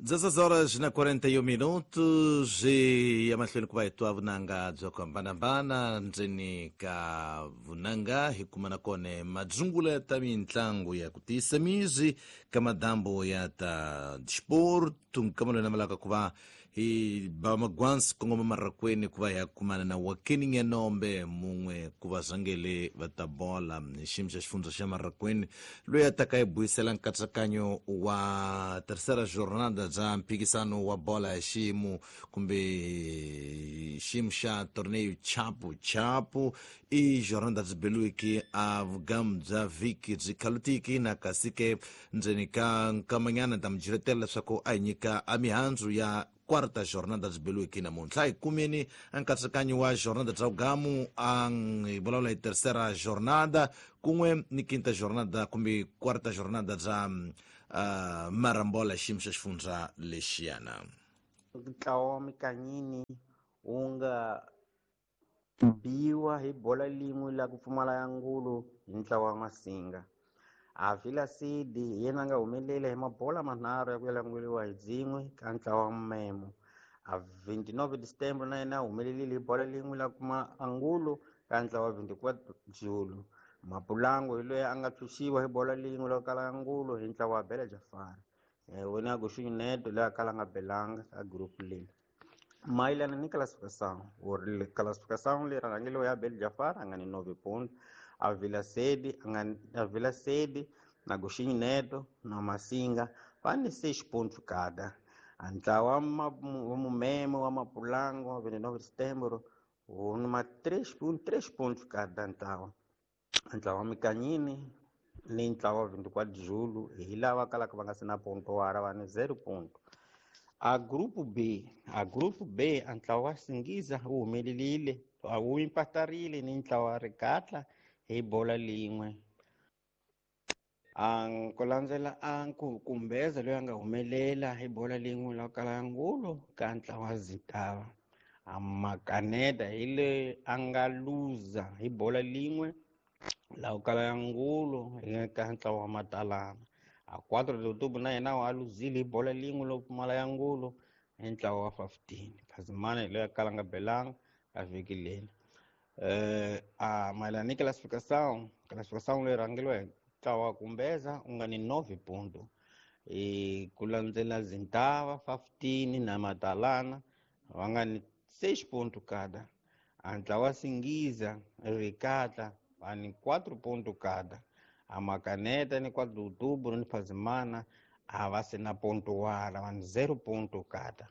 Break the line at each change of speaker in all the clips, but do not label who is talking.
16 horas na 41 minutos e emahlweni ku va hi twa vunanga byo hambanahambana ndzeni ka vunanga hi kuma na kona madzungula ya ta mitlangu ya ku tiyisa mizi ka madambo ya ta disporto nkama loyi namelaka ku va hi ba magwansi kongoma marakweni ku va hi ya kumana na Wakeni Nyanombe mun'we ku va zangele va ta bola hi xiyimo xa xifundza xa Marakweni loyi a taka hi buyisela nkatsakanyo wa terceira jornada bya mphikisano wa bola ya xiyimo kumbe xiyimo xa torneo chapu chapu i jornada byi beliwiki a vugamu bya vhiki byi khalutiki na kasi ke ndzeni ka nkamanyana ta mi jiretela leswaku a hi nyika a mihandzu ya quarta jornada byi beliwiki namuntlha hi kumeni a nkatsakanyo wa jornada bya vugamu a hi vulavula hi terceira jornada kun'we ni quinta jornada kumbe quarta jornada bya marambola xiyimo xa xifundza lexiyana.
Ntlawa wa Mikanyini wu nga biwa hi bola lin'we la ku pfumala ya ngulu hi ntlawa wa Masinga. A Villa City hi yena a nga humelela hi mabola manharhu ya ku yalanguriwa hi dzin'we ka ntlawa wa Memo. A 29 December na yena a humelerile hi bola lin'we la kuma angulo ka ntlawa wa 24 Julu. Mapulango hi loyi a nga tshunxiwa hi bola lin'we la kala angulo hi ntlawa wa Bela Jafari. Wena Guxunyu Neto loyi a kala nga belanga ka group leyi. Mayelana ni classificação, classificação leyi rhangeriwe ya Abel Jafar a nga ni 9 pontos, a Villa Sede a nga a Villa Sede na Guxinho Neto na Masinga va ni 6 pontos cada. A ntlawa wa Mumemo wa Mapulango wa 29 de Setembro wu ni ma 3 pontos, 3 pontos cada ntlawa. Ntlawa wa Mikanyini ni ntlawa wa 24 de Julho hi lava kalaka va nga se na ponto wara va ni 0 ponto. A grupo B, a grupo B a ntlawa wa Singiza wu humelerile a wu impatarile ni ntlawa wa Rikatla hi bola lin'we. A ku landzela a Kumbeza loyi a nga humelela hi bola lin'we la kala ngulo ka ntlawa wa Zintava. A Makaneta hi loyi a nga luza hi bola lin'we la kala ngulo ka ntlawa wa Matalana. A 4 de outubro na yena wa luzile hi bola lin'we lo pfumala ya ngulo hi ntlawa wa 15. Phazimana hi loyi a kala nga belanga a vhiki leni. A mayelana ni classificação, classificação leyi rhangeriwa hi ntlawa wa Kumbeza u nga ni 9 ponto. Ku landzela Zintava 15 na Matalana va nga ni 6 ponto cada. A ntlawa wa Singiza Rikatla va ni 4 ponto cada. A Makaneta ni 4 de outubro ni Phazimana a va se na ponto wala va ni 0 ponto cada.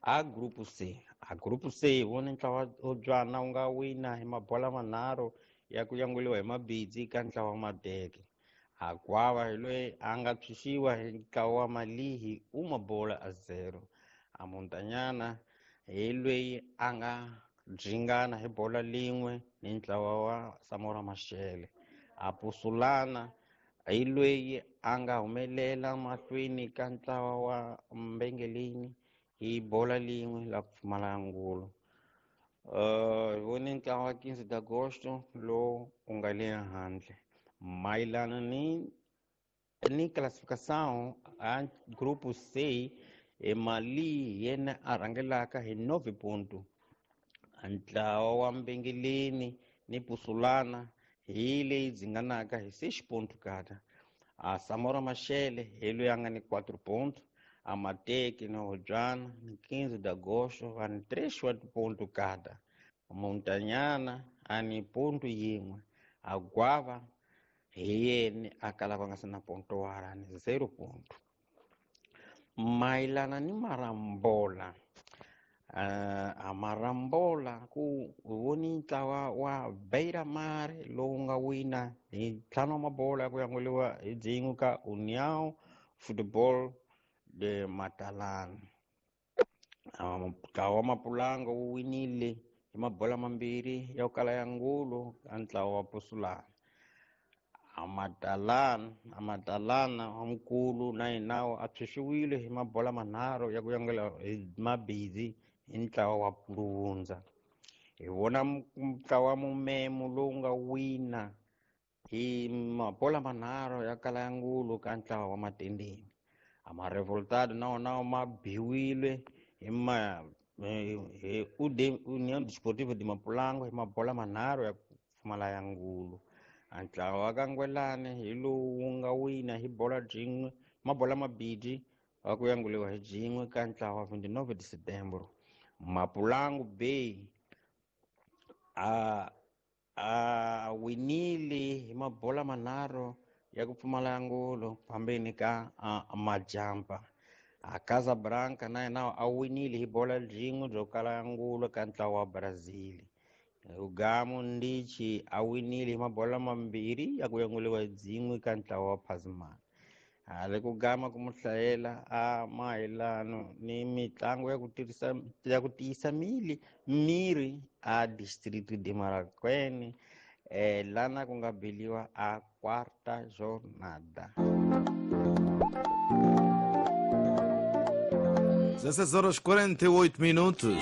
A grupo C, a grupo C vona ntlawa wo dzwana wu nga wina hi mabola manharhu ya ku yanguliwa hi mabidzi ka ntlawa wa Madeke. A Gwava hi loyi a nga tshunxiwa hi ntlawa wa Malihi u mabola a 0. A Muntanyana hi loyi a nga dringana hi bola lin'we ni ntlawa wa Samora Mashele. A Pusulana hi loyi a nga humelela mahlweni ka ntlawa wa Mbengeleni hi bola lin'we la ku pfumala ngulo. Hi vone ntlawa wa 15 de agosto lowu u nga le handle. Mayelana ni classificação a grupo C, e Mali yena a rhangelaka hi 9 ponto. Ntlawa wa Mbengeleni ni Pusulana hi leyi dzinganaka hi 6 ponto kada. A Samora Mashele hi loyi a nga ni 4 ponto. A Mateki na Hodzwana ni 15 de agosto va ni 3 wa ponto kada. Muntanyana a ni ponto yin'we. A Gwava hi yena a kalaka nga se na ponto wala ni 0 ponto. Mayelana ni Marambola, a Marambola ku voni ntlawa wa Beira Mar lowu nga wina hi ntlhanu wa mabola ya ku yanguliwa hi dzin'we ka União Football de Matalana. Ntlawa wa Mapulango wu winile hi mabola mambirhi ya ku kala ya ngulo ka ntlawa wa Pusulana. A Matalana wa mukulu na yena a tshunxiwile hi mabola manharhu ya ku yangula hi mabidzi hi ntlawa wa Puluvundza. Hi vona ntlawa wa Mumemo lowu nga wina hi mabola manharhu ya kala ya ngulo ka ntlawa wa Matendeni. A ma-revoltado na wona ma biwile hi ma hi União Desportiva de Mapulango hi mabola manharhu ya ku pfumala ya ngulu. A ntlawa wa ka Ngwelani hi lowu wu nga wina hi bola byin'we mabola mabidi wa ku yanguliwa hi byin'we ka ntlawa 29 de Setembro. Mapulangu Bay a a winile hi mabola manharhu ya ku pfumala ngulu phambeni ka Majampa. A Casablanca na yena a winile hi bola byin'we byo kala ngulu ka ntlawa wa Brazil. Rugamo Ndichi a winile hi mabola mambirhi ya ku yanguliwa hi byin'we ka ntlawa wa Phazimana. Hale ku gama ku mu hlayela a mayelano ni mitlangu ya ku tirhisa ya ku tiyisa mili miri a Distrito de Marraquene lana ku nga biliwa a quarta jornada.
16 horas 48 minutos.